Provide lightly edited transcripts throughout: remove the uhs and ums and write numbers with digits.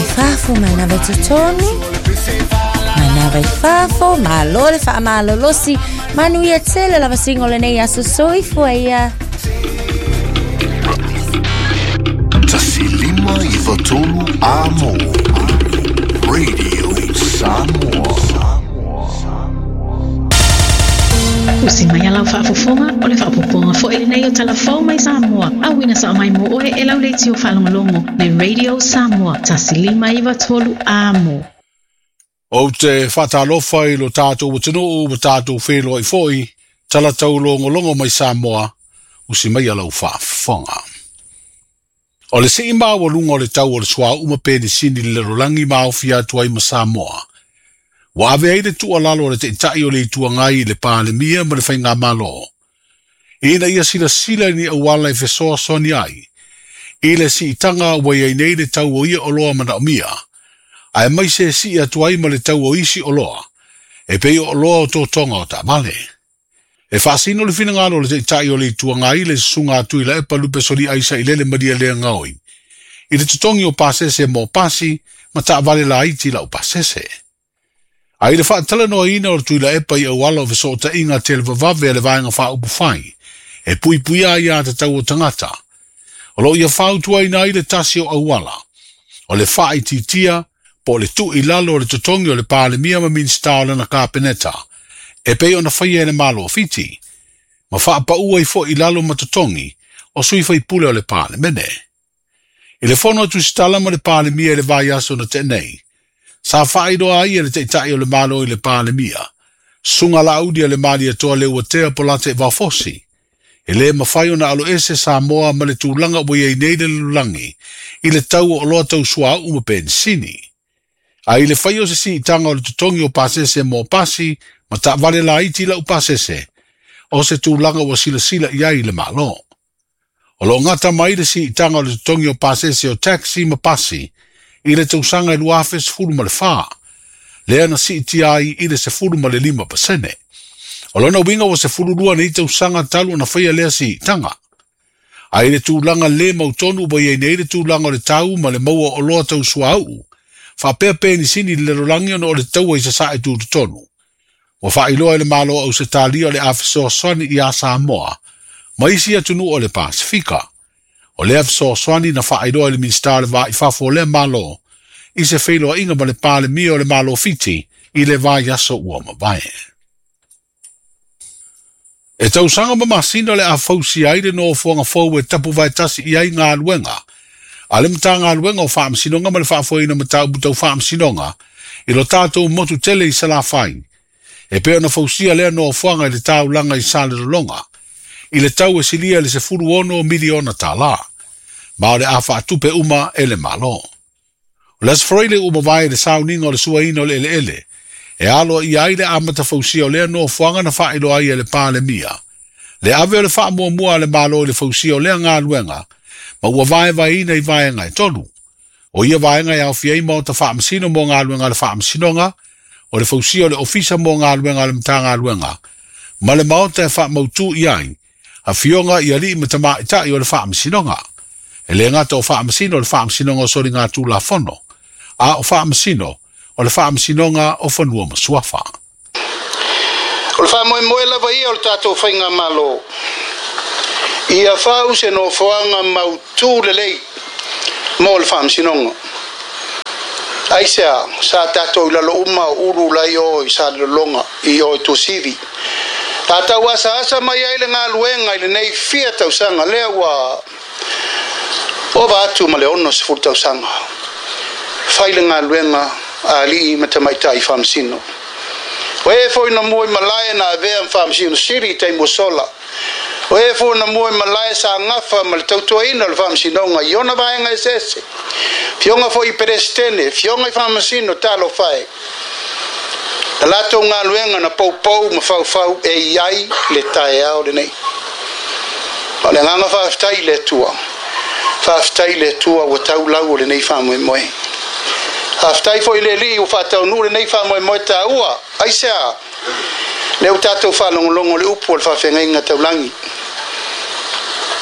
Manava i fafo, manava i totonu. Manava i fafo, malo le faamalolosi. Manuia tele lava singo lenei aso soifua ia. 1 5 9 3 Amo Radio Samoa. Usi mai a lau faafofoga o le faaopoopoga foi lenei o Talafou mai Samoa. Auina sao mai mo oe e lau leitio faalogologo le Radio Samoa 1 5 9 3 Amo. Ou te whaatalofa i lo tātou atunuu wa tātou whenua i foi, tala taulogologo mai Samoa, usi mai a lau faafofoga. O le sii maualuga o le tau o le suauu ma penisini i le lalolagi ma aofia atu ai ma Samoa. Ua ave ai le tuualalo a le Taitai o le Itu Agai i le Palemia ma le Faigamalo. Ina ia silasila i ni auala e fesoasoani ai. I le siitaga ua iai nei le tau o ia oloa manaomia. Aemaise e sii atu ai ma le tau o isi oloa. E pei o oloa o totoga o taavale. E faasino le finagalo o le Taitai o le Itu Agai le susuga a Tuilaepa Lupesoliai Sailele Malielegaoi. I le totogi o pasese mo pasi ma taavale laiti lau pasese. A i le faatalanoaina o le Tuilaepa i auala o fesootaiga televavave a le Vaega Faaupufai, e puipuia ai aiatatau o tagata. O loo ia fautuaina ai le tasi o auala. O le faaitiitia po o le tuu i lalo o le totogi o le Palemia ma Minisita o lana Kapeneta, e pei ona faia e le Malo o Fiti, ma faapaua ai foi i lalo ma totogi o sui faipule o le Palemene. I le fono a Tusitala ma le Palemia i le vaiaso na tea nei, sa faailoa ai e le Taitai o le Malo i le Palemia, Susuga Laauli a le Malietoa Leuatea Polataivao Fosi, e le mafai ona aloese Samoa ma le tulaga ua iai nei le lalolagi i le tau o oloa tau suauu ma penisini. A i le faia o se siitaga o le totogi o pasese mo pasi ma taavale laiti lau pasese, o se tulaga ua silasila i ai le Malo. O loo gata mai le siitaga o le totogi o pasese o taxi ma pasi i le tausaga e 2014, lea na siitia ai i le 15%. O lona uiga ua 12 nei tausaga talu ona faia lea siitaga. A i le tulaga le mautonu ua iai nei le tulaga o le tau ma le maua o oloa tau suauu, faapea penisini i le lalolagi ona o le taua i sasae tutotonu. Ua faailoa e le Malo o Ausetalia o le a fesoasoani ia Samoa ma isi atunuu o le Pasifika. O lea fesoasoani na faailoa e le Minisita o le Va i Fafo o lea Malo i se feiloaiga ma le Palemia o le Malo o Fiti i le vaiaso ua mavae. E tausaga ma masina o le a fausia ai le nofoaga fou e tapuvaetasi i ai galuega a le Matagaluega o Faamasinoga ma le Faafoeina o Mataupu Tau Faamasinoga i lo tatou motu tele i Salafai. E pei ona fausia lea nofoaga i le taulaga i Salelologa i le tau e silia i le $16 miliona, ma o le a faatupe uma e le Malo. O le Aso Faraile ua mavae le sauniga o le suaina o le eleele e aloaia ai le amata fausia o lea nofoaga na faailoa ai e le Palemia. Le ave o le faamuamua a le Malo i le fausia o lea galuega ma ua vaevaeina i vaega e tolu. O ia vaega e aofia ai maota faamasino mo galuega a le faamasinoga, o le fausia o le ofisa mo galuega a le Matagaluega, ma le maota e faamautu i ai afioga i alii ma tamaitai o le faamasinoga. E le gata o faamasino o le Faamasinoga o Soligatulafono, a o faamasino o le Faamasinoga o Fanua ma Suafa. O le faamoemoe lava ia o le tatou faigamalo ia fau se nofoaga mautū lelei mo le faamasinoga. Aisea sa tatou i lalo uma o ulu lai o i Salelologa i o i Tuasivi. Tatau asaasa mai ai le galuega i lenei fia tausaga lea ua ova atu ma le 60 tausaga. Fai le galuega a alii ma tamaitai faamasino. O e foi na mua i malae na avea ma faamasino sili i taimi ua sola. O e foi na mua i malae sa gafa ma le tautuaina o le faamasinoga i ona vaega eseese. Fioga foi i Peresetene, fioga i faamasino talofa e. Na latou galuega na poupou ma faufau e i ai le taeao lenei. O le agaga faafetai i le Atua. Faafetai i le Atua ua tau lau o lenei faamoemoe. Faafetai foi i le Alii ua faataunuu lenei faamoemoe taua. Aisea? Lea ua tatou faalogologo i le upu o le faafeagaiga taulagi.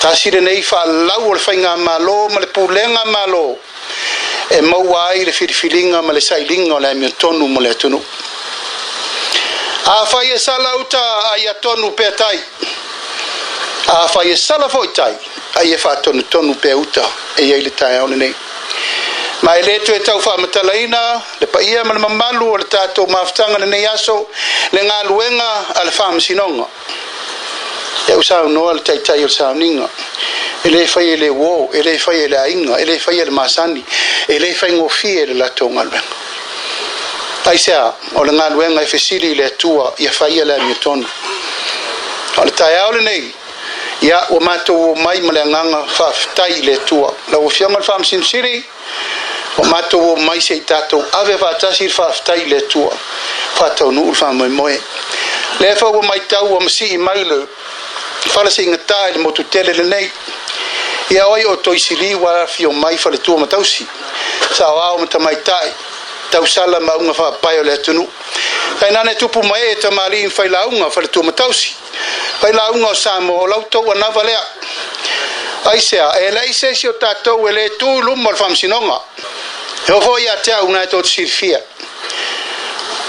Tasi lenei faalau o le faigamalo ma le pulega malo. E maua ai le filifiliga ma le sailiga o le amiotonu mo le atunuu. Afai e sala uta, ai atonu pea tai. Afai e sala foi tai, ai e faatonutonu pea uta e i ai le taeao lenei. Ma e le toe tau faamatalaina le paia ma le mamalu o le tatou mafutaga lenei aso, le galuega a le faamasinoga. Ia ua saunoa le taitai o le sauniga, e le fai e le uō, e le fai e le aiga, e le fai e le masani, e le faigofie le latou galuega. Aisea? O le galuega e fesili i le Atua ia faia le amiotonu. O le taeao lenei, ia ua matou omai ma le agaga faafetai i le Atua. Lau Afioga i le Faamasino Sili, ua matou omai se i tatou ave faatasi le faafetai i le Atua, faataunuu le faamoemoe. Lea foi ua matau ua masii mai le fala siigata i le motu tele lenei. Ia oi o Toisili ua afio mai faletua ma tausi, saoao ma tamaitai, tausala ma auga faapae o le atunuu. Tainane tupu ma ee tamalii ma failauga faletua ma tausi, failauga o Samoa, o lau tou anava lea. Aisea, e leai se isi o tatou e le tu i luma o le faamasinoga. E oo foi ia te au na e tou te silafia.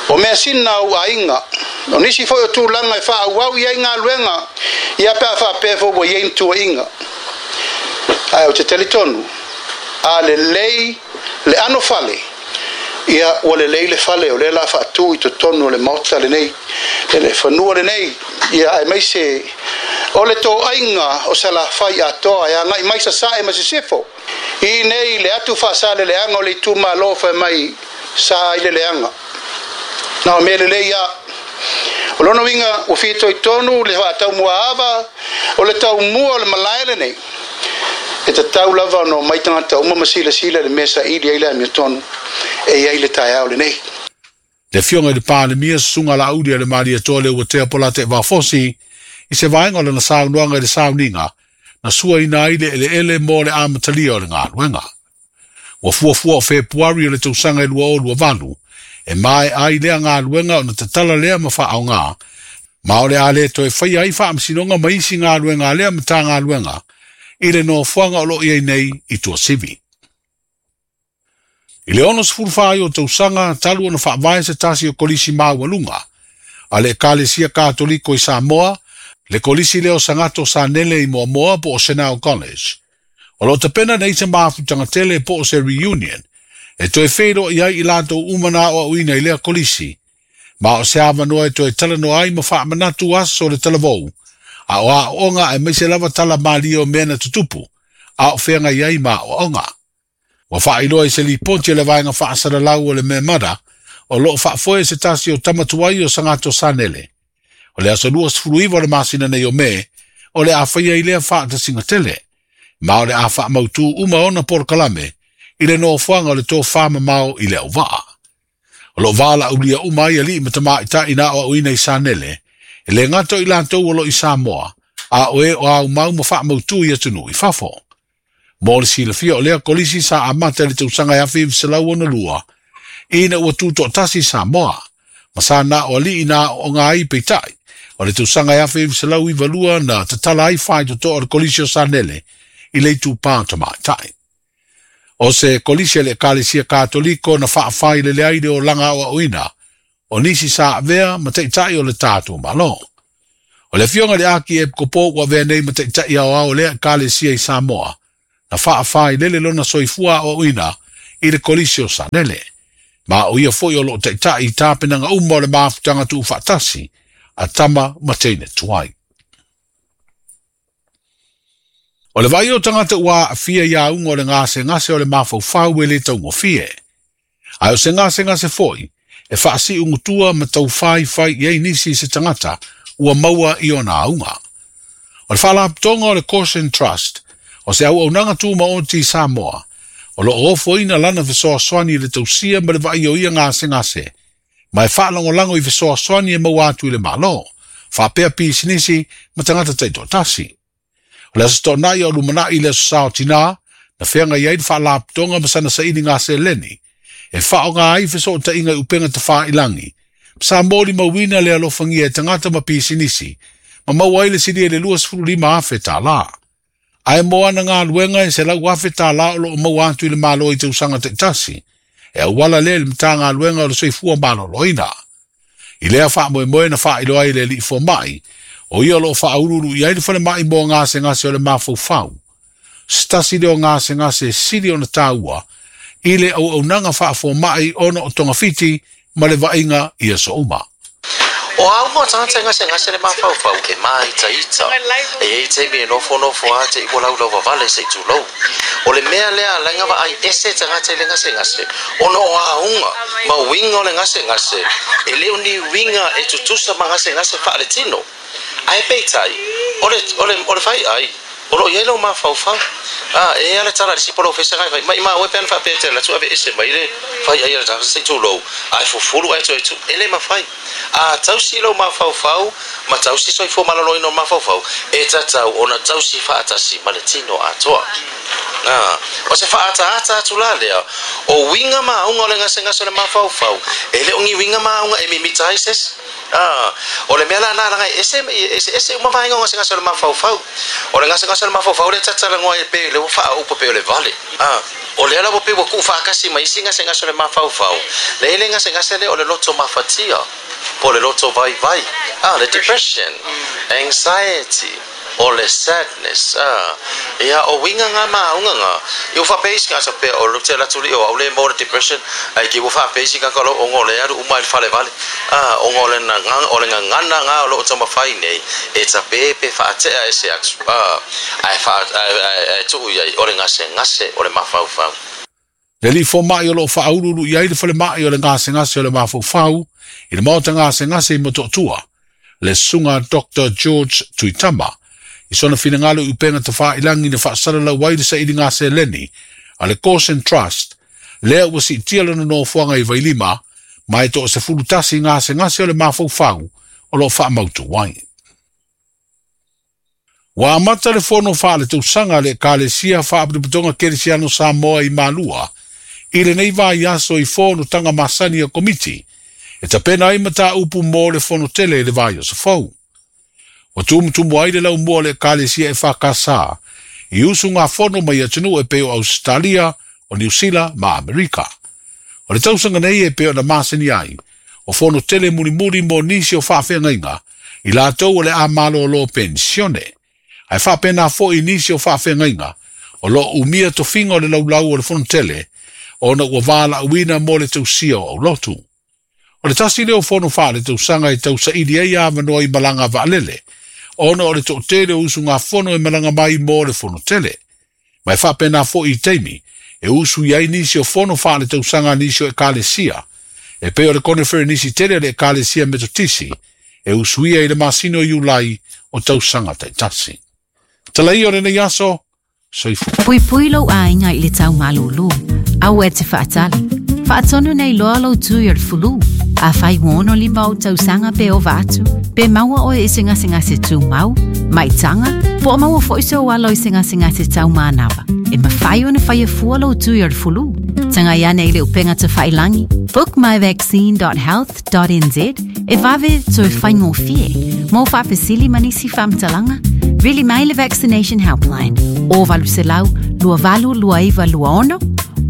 O measina a ou aiga, o nisi foi o tulaga e faaauau i ai galuega, ia pe a faapea foi ua i ai ni tuuaiga. Ae ou te talitonu, a lelei le ano fale, ia ua lelei le fale o lea o le a faatu i totonu o le Maota lenei, le fanua lenei, ia aemaise o le toaiga o Salafai atoa e agai mai Sasae ma Sisifo. I nei le atu faasaleleaga o le itumalo fai mai sa i le leaga. Na o mea lelei a. O lona uiga ua fitoitonu le faataumuaava o le taumua o le malae lenei. E tatau lava ona omai tagata uma ma silasila i le mea saili ai le amiotonu e i ai le taeao lenei. Le Afioga i le Palemia, Susuga Laauli a le Malietoa Leuatea Polataivao Fosi, i se vaega o lana saunoaga i le sauniga na suaina ai le eleele mo le amatalia o le galuega. Ua fuafua o Fepuari o le tausaga e 2028 e maea ai lea galuega ona tatala lea ma faaaoga, ma o le a le toe faia ai faamasinoga ma isi galuega a lea Matagaluega i le nofoaga o lo o i ai nei i Tuasivi. I le 64 o tausaga talu ona faavae se tasi o kolisi maualuga a le Ekalesia Katoliko i Samoa, le kolisi lea o Sagato Sanele i Moamoa po o Senao College. O lo o tapena nei se mafutaga tele po o se reunion e toe feiloai ai i latou uma na aoaoina i lea kolisi, ma o se avanoa e toe talanoa ai ma faamanatu aso o le talavou, a o aoaoga aemaise lava tala malie o mea na tutupu a o feagai ai ma aoaoga. Ua faailoa i se lipoti a le Vaega Faasalalau o le Memada o lo o faafoe se tasi o tama tuai o Sagato Sanele. O le aso 29 o le masina nei o Me, o le a faia i lea faatasiga tele, ma o le a faamautū uma ona polokalame i le nofoaga o le tofā mamao i le auvaa. O lo o valaaulia uma ai alii ma tamaitai na aoaoina i Sanele, e le gata o i latou o lo o i Samoa, a o e o aumau ma faamautū i atunuu i fafo. Mo le silafia o lea kolisi sa amata i le tausaga e 1962, ina ua tutoatasi Samoa, ma sa na o alii na aooga ai peitai, o le tausaga e 1992 na tatala ai faitotoa o le Kolisi o Sanele i le itupa o tamaitai. O se kolisi a le Ekalesia Katoliko na faafailele ai le olaga aoaoina o nisi sa avea ma taitai o le tatou Malo. O le afioga i le Akiepikopo ua avea nei ma taitai aoao o lea Ekalesia i Samoa, na faafailele lona soifua aoaoina i le Kolisi o Sanele. Ma o ia foi o lo o taitai i tapenaga uma o le mafutaga tuufaatasi a tama ma teine tuai. O le vaai o tagata ua aafia i auga o le gasegase o le mafaufau e le taugofie. Ae o se gasegase foi e faasiugutua ma taufaifai i ai nisi i se tagata ua maua i ona auga. O le Faalapotopotoga o le Caution Trust, o se auaunaga tumaoti i Samoa, o lo o ofoina lana fesoasoani i le tausia ma le vaai o ia gasegase, ma e faalagolago i fesoasoani e maua atu i le Malo, faapea pisinisi ma tagata taitoatasi. O le Aso Toonai o lumanai i le Aso Sa o Tinā, na feagai ai le Faalapotopotoga ma sana sailiga seleni, e faaaoga ai fesootaiga i upega tafailangi, ma sa molimauina le alofagia e tagata ma pisinisi, ma maua ai le silia i le $25,000. Ae mo ana galuega e $100,000 o loo maua atu i le Malo i tausaga taitasi, e auala lea i le Matagaluega o le Soifua Maloloina. I lea faamoemoe na faailoa ai e le alii fomai, o ia o loo faauluulu i ai le falemai mo gasegase o le mafaufau, se tasi lea o gasegase e sili ona taua i le auaunaga faafomai ona o togafiti ma le vaaiga i aso uma. O auga o tagata e gasegase le mafaufau e māitaita. E i ai taimi e nofonofo lava te i ua laulau vavale se i tulou. O le mea lea a laga vaai ese tagata i le gasegase ona o auga ma uiga o le gasegase e le o ni uiga e tutusa ma gasegase faaletino. Ae peitai, o le, o le, o le faiai, o lo o i ai lou mafaufau. A, e i ai lava le tala a le isi polofesa e fai, Maimau e pe ana faapea e te alu atu aveese mai le faiai a le tagata se i tulou, ae fufulu ae toe tu. E le mafai. A tausi lou mafaufau ma tausi soifua maloloina o le mafaufau, e tatau ona tausi faatasi ma le tino atoa. A, o se faaataata atu la lea, o uiga ma auga o le gasegase o le mafaufau, e le o ni uiga ma auga e mimita ai se isi. A, o le mea la na laga e ese, eseese uma vaega o gasegase o le mafaufau. O le gasegase o le mafaufau lea ta talanoa ai pei lea ua faaaupa pei o le vale. A, o lea la ua pei ua tuufaatasi ma isi gasegase o le mafaufau, le i le gasegase lea o le loto mafatia, po o le loto vaivai. A, le depression, anxiety, o le sadness, a, ia, o uiga nga ma auga nga, i ua faapea isi tagata pea o le te alu atu lea o au le maua le depression, ae ki ua faapea isi tagata o lo o le alu uma i le fale vale, a, ona o le o le gagana nga o lo o taumafai nei e tape pe faatea ese atu, a, ae faa, ae, ae, ae tuu i ai o le gasegase o le mafaufau. Le alii fomai o lo o faauluulu i ai le falemai o le gasegase o le mafaufau i le maota gasegase i Motootua, le Susuga Doctor George Tuitama, i sona finagalo i upega tafailangi na faasalalau ai le sailiga seleni a le Gosen Trust, lea ua siitia lona nofoaga i Vailima, ma e toa-11 gasegase o le mafaufau o lo o faamautu ai. Ua amata le fono faaletausaga a le Ekalesia Faapotopotoga Kerisiano Samoa i Malua i lenei vaiaso i fonotaga masani a Komiti e tapena ai mataupu mo le fono tele i le vaiaso fou. Ua tumutumu ai le laumua o le Ekalesia EFKS i usugafono mai atunuu e pei o Ausetalia, o Niu Sila ma Amerika. O le tausaga nei e pei ona masani ai, o fono tele mulimuli mo nisi o faafeagaiga i latou o le a malōlō penisione, ae faapena foi i nisi o faafeagaiga o lo o umia tofiga o le laulau o le fono tele ona ua valaauina mo le tausia o aulotu. O le tasi lea o fono faaletausaga e tausaili ai avanoa i malaga vaalele, ona o le toatele o usugafono e malaga mai mo le fono tele. Ma e faapena foi i taimi e usu i ai nisi o fono faaletausaga a nisi o Ekalesia, e pei o le koneferenisi tele a le Ekalesia Metotisi e usuia i le masina o Iulai o tausaga taitasi. Tala ia o lenei aso, soifua. Puipui lou aiga i le tau malūlū. Aua e te faatali. Faatonu nei loa lou tui o le fulu. Afai ua 65 ou tausaga pe ova atu, pe maua oe i se gasegase tumau, maitaga, po o maua foi sou alo i se gasegase tau manava, e mafai ona faia fua lou tui o le fulu. Tagai ane i le upega tafailangi, bookmyvaccine.health.nz, e vave toe faigofie. Mo faafesili ma nisi faamatalaga, vili mai le Vaccination Helpline, o 800 2829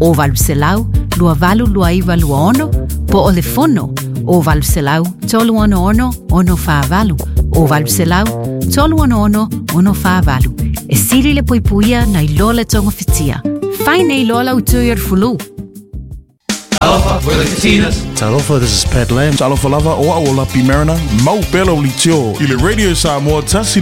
26, o 800 2829 26, po o le fono, o 800 366 648, o 800 366 648. E sili le puipuia nai lo le togafitia. Fai nei loa lau tui o le fulu. Talofa, we're the Katinas. Talofa, this is Pat Lam. Talofa lava, o au o Lapi Mariner, mau pea lau litio i le Radio Samoa tasi.